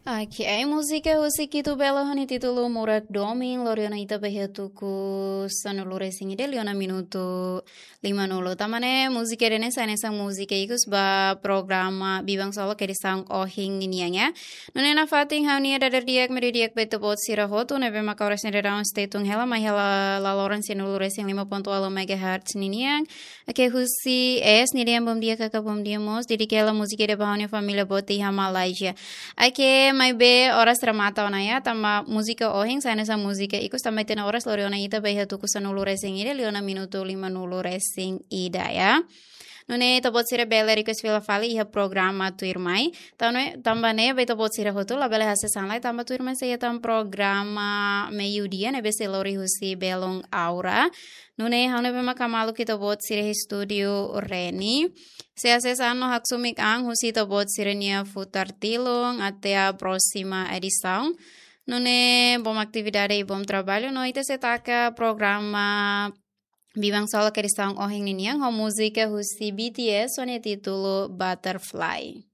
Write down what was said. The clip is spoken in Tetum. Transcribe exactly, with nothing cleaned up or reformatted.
Oke, múzika husi Kitu Belo ho nia títulu Murak Domin, lori ona ita ba iha tuku sanulu resin ida liu ona minutu lima nulu. Tanba ne'e múzika ida-ne'e sai hanesan múzika ikus ba programa Biban Solo ke edisaun ohin ninian ya. Nune'e nafatin ha'u-nia dadeer-di'ak, meiudia-di'ak ba ita-boot sira hotu, ne'ebé maka oras ne'e daudaun sei tun hela, mai hela laloran sanulu resin lima pontu ualu megahertz ninian. Oke, husi S, nia dehan bom dia kakak, bom dia mós. Dedika hela múzika ida ba ha'u-nia família boot iha Malaysia. Oke, maibé oras remata ona ya, tanba múzika ohin sai hanesan múzika ikus, tanba ita-nia oras lori ona ita ba iha tuku sanulu resin ida liu ona minutu lima nulu resin ida ya. Nune'e ita-boot sira bele request fila fali iha programa tuirmai. Tanba ne'e, tanba ne'e ba ita-boot sira hotu labele hasees an lai, tanba tuirmai sei iha tan programa meiudia ne'ebé sei lori husi Belun Aura. Nune'e ha'u ne'ebé maka maluk ita-boot sira iha estúdiu Reni. Sei hasees an no haksoit an husi ita-boot sira-nia futar tilun até próxima edisaun. Nune'e bom atividade i bom trabalho, no ita sei taka programa Biban Solo ke edisaun ohin ninian ho múzika husi B T S ho nia títulu Butterfly.